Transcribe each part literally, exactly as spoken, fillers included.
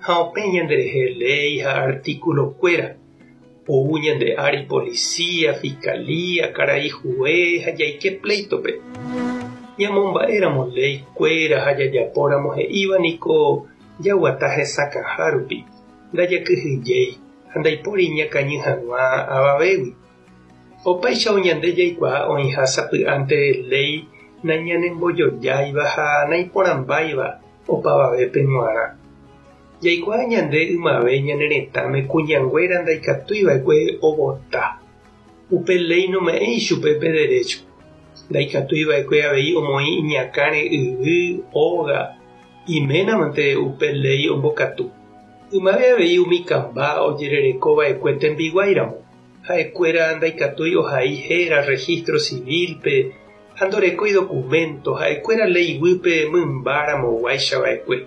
Ha opẽ ñanderehe léi ha artículo-kuéra. Ou ñande ári policía, fiscalía, karai juez ha jaike pleito-pe. Ñamomba'éramo léikuéra ha jajapóramo he'íva niko jaguata hesakãha rupi, ndajakyhyjéi ha ndaipóri ñakañy hag̃ua avavégui. Opáicha ñande jaikuaa oĩha sapy'ánte léi nañanembojojáiva ha naiporãmbáiva opavavépe g̃uarã. Jaikuaa ñande ymave ñane retãme kuñanguéra ndaikatuiva'ekue ovota. Upe léi nome'ẽi chupe pe derecho. Ndaikatuiva'ekue avei omoĩ iñakãre yvy, óga, iménamante upe léi ombokatu. Ymave avei umi kamba ojererekova'ekue tembiguáiramo. Ha'ekuéra ndaikatúi ohai héra registro civil-pe ha ndorekói documento ha'ekuéra léi guýpe mymbáramoguáichava'ekue.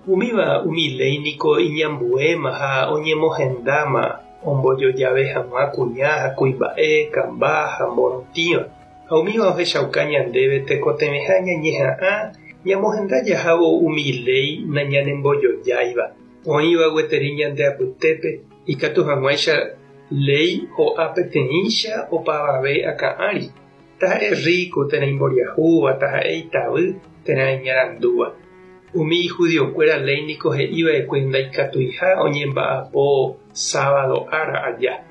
Umíva umi léi niko iñambuéma ha oñemohendáma ombojojave hag̃ua kuña ha kuimba'e, kamba ha morotĩva. Ha umíva ohechauka ñandéve tekotevẽha ñañeha'ã ñamohenda jahávo umi léi nañanembojojáiva. Oĩva gueteri ñande apytépe ikatu hag̃uáicha léi ho'a peteĩcha opavave akã ári. Taha'e rico térã imboriahúva, taha'e itavy térã iñarandúva. Umi judiokuéra léi niko he'iva'ekue ndaikatuiha oñemba'apo sábado ára aja.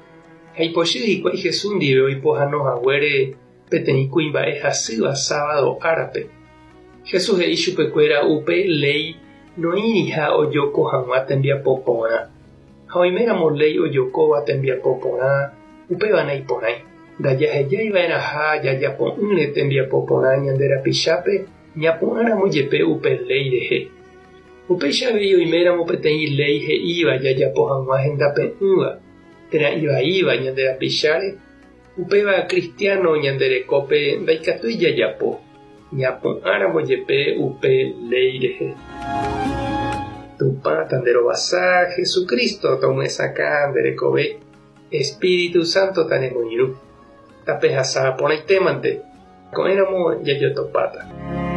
Ha ipochy hikuái Jesús ndive oipohãnohaguére peteĩ kuimba'e hasýva sábado árape. Jesús he'i chupekuéra upe léi noĩriha ojoko hag̃ua tembiapo porã. Ha oiméramo léi ojokóva tembiapo porã, upéva naiporãi. Ndajahejaiva'erãha jajapo'ỹre tembiapo porã ñande rapichápe ñapu'ãramo jepe upe léi rehe. Upéicha avei oiméramo peteĩ léi he'íva jajapo hag̃ua hendape'ỹva térã ivaíva ñande rapicháre, upéva cristiano ñande rekópe ndaikatúi jajapo, ñapu'ãramo jepe upe léi rehe. Tupã tanderovasa, Jesucristo tomyesakã nde rekove, Espíritu Santo tanemoirũ. Tapehasa porãitémante, ko'ẽramo jajotopáta.